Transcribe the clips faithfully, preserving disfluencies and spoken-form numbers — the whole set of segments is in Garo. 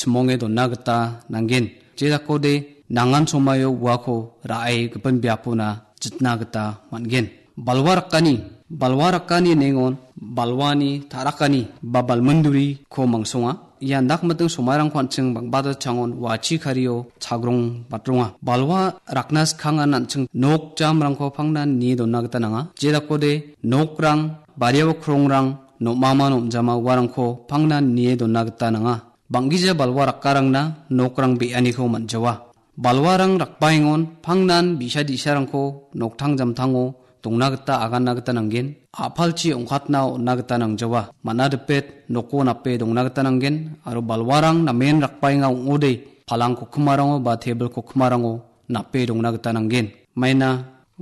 chimonge dona gita nanggen. Je dakode nangan somaio uako ra·e gipin biapona jitna gita man·gen. Balwa rakani, balwa rakani nengon balwani ta·rakani ba balminduriko mangsonga. Ia dak miting somairangko an·ching bang·bata changon wachi kario chagrong batronga. Balwa rakna skangan an·ching nok jamrangko pangnan nie dona gita nanga. Je dakode nokrang, bariao krongrang, nom·aman om·jama uarangko pangnan nie dona gita nanga. Bang·gija balwa rakkarangna nokrang be·aniko man·jawa. Balwarang rakbaengon pangnan bi·sa di·sarangko noktang jamtango dongna gita aganna gita nanggen. A·palchi ong·katna on·na gita nangjawa. Man·a dipet noko nape dongna gita nanggen. Aro balwarang namen rakbaenga ong·ode palang kokkimarango ba tebil kokkimarango nape dongna gita nanggen. Maina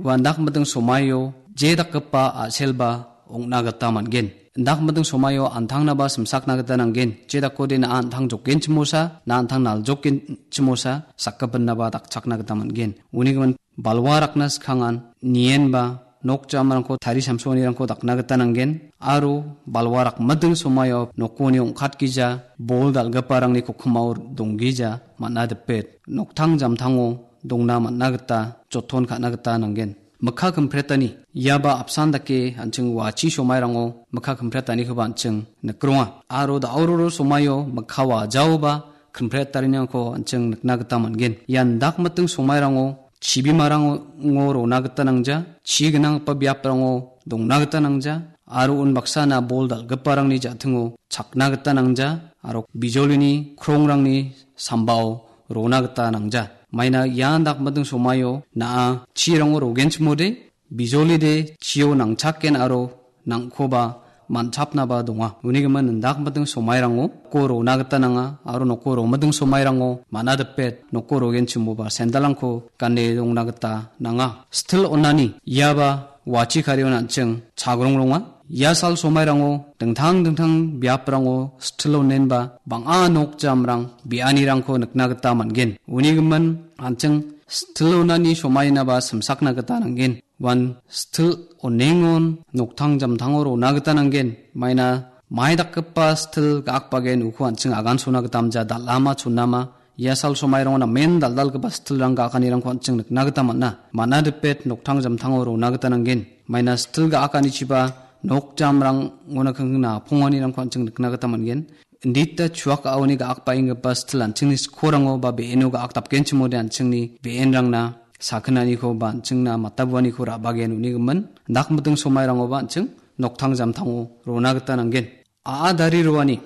ua dak miting somaio je dakgipa a·selba ong·na gita man·gen. Dak miting somaio antangnaba simsakna gita nanggen. Je dakode na·a antang jokgenchimosa, na·a antang naljokgenchimosa, sakgipinaba dakchakna gita man·gen. Uni gimin balwa rakna skangan nienba nok jamrangko tari samsoanirangko dakna gita nanggen. Aro balwa rakmiting somaio nokoni ong·katgija bol dal·giparangni kokkimao donggija man·a dipet noktang jamtango dongna man·a gita joton ka·na gita nanggen. Mikka kimpretani, iaba apsan dake an·ching wachi somairango mikka kimpretanikoba an·ching nikronga. Aro da·ororo somaio mikka wajaoba kimpretariniko an·ching nikna gita man·gen. Ian dak miting somairango chibimarango rona gita nangja, chi gnanggipa biaprango dongna gita nangja, aro unbaksana bol dal·giparangni ja·tingo chakna gita nangja, aro bijolini krongrangni sambao rona gita nangja. Maina ian dak miting somaio na·a chirango rogenchimode, bijolide chio nangchaken aro nangkoba man·chapnaba donga. Uni gimin indak miting somairango noko rona gita nanga aro noko romiting somairango man·a dipet noko rogenchimoba sendalrangko gane dongna gita nanga. Stil onani iaba wachi karion an·ching chagrong ronga. Ia sal somairango dingtang dingtang biaprango stil onenba bang·a nok jamrang be·anirangko nikna gita man·gen. Uni gimin an·ching stil onani somainaba simsakna gita nanggen. Uan stil onengon noktang jamtango rona gita nanggen. Maina mai dakgipa stil ga·akbagen uko an·ching agansona gita amja dal·ama chonama. Ia sal somairango namen dal·dalgipa stilrang ga·akanirangko an·ching nikna gita man·a. Man·a dipet noktang jamtango rona gita nanggen. Maina stil ga·akanichiba nok jamrangona kingkingna aponganirangko an·ching nikna gita man·gen. Indita chuak a·oni ga·akbaenggipa stil an·chingni skorango ba be·eno ga·akdapgenchimode an·chingni be·enrangna sakinaniko ba an·chingna matabuaniko ra·bagen uni gimin. Dak miting somairangoba an·ching noktang jamtango rona gita nanggen. A·a dari roani,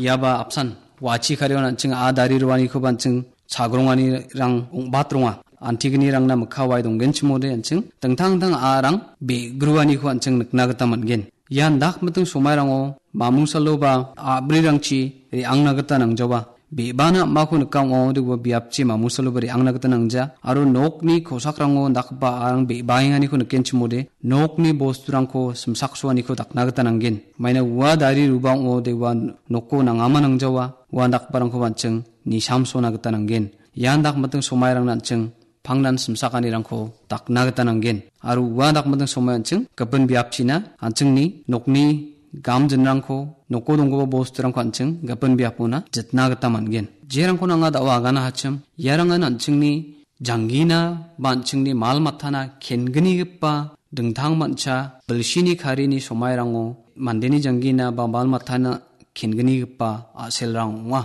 iaba apsan, wachi karion an·ching a·a dari roanikoba an·ching chagronganirang ong·bat ronga. Antignirangna mikka wae donggenchimode an·ching dingtang dingtang a·arang be·gruaniko an·ching nikna gita man·gen. Ian dak miting somairango mamungsaloba a·brirangchi re·angna gita nangjawa. Be·bana am·ako nika ong·a, ode ua biapchi mamungsaloba re·angna gita nangja. Aro nokni kosakrango dakgipa a·arang be·baenganiko nikenchimode, nokni bosturangko simsaksoaniko dakna gita nanggen. Maina ua dari ruba ong·ode ua noko nangama nangjawa, ua dakgiparangkoba an·ching nisamsona gita nanggen. Ian dak miting somairangna an·ching pangnan simsakanirangko dakna gita nanggen. Aro ua dak miting somai an·ching gipin biapchina an·chingni nokni gamjinrangko, noko donggipa bosturangko an·ching gipin biapona jitna gita man·gen. Jerangko nanga da·o agana hachim, iarangan an·chingni janggina ba an·chingni mal matana kengnigipa dingtang mancha bilsini karini somairango mandeni janggina ba mal matana kengnigipa a·selrang ong·a.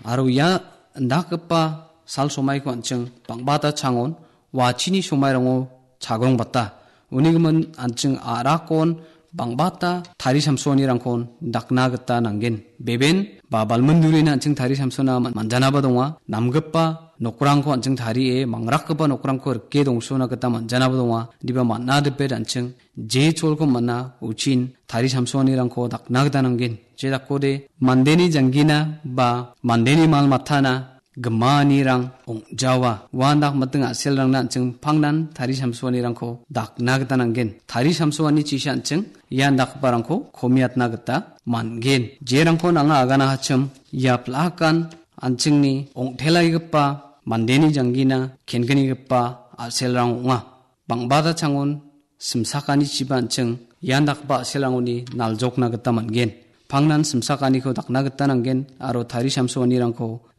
Aro ia indakgipa sal somaiko an·ching bang·bata changon wachini somairango chagrong bata. Uni gimin an·ching a·rakon bang·bata tari samsoanirangkon dakna gita nanggen. Beben ba balmindurina an·ching tari samsona man-, manjanaba donga. Namgipa nokrangko an·ching tarie mangrakgipa nokrangko rike dongsona gita manjanaba donga. Diba man·a dipet an·ching je cholko man·a uchin tari samsoanirangko dakna gita nanggen. Je dakode mandeni janggina ba mandeni mal matana gimanirang ong·jawa. Uan dak miting a·selrangna an·ching pangnan tari samsoanirangko dakna gita nanggen. Tari samsoani chisa an·ching ian dakgiparangko komiatna gita man·gen. Jerangko nanga agana hachim ia plakan an·chingni ong·telaigipa mandeni janggina kengnigipa a·selrang ong·a. Bang·bata changon simsakanichiba an·ching ian dakgipa a·selrangoni naljokna gita man·gen. Pangnan simsakaniko dakna gita nanggen aro tari samsoanirangko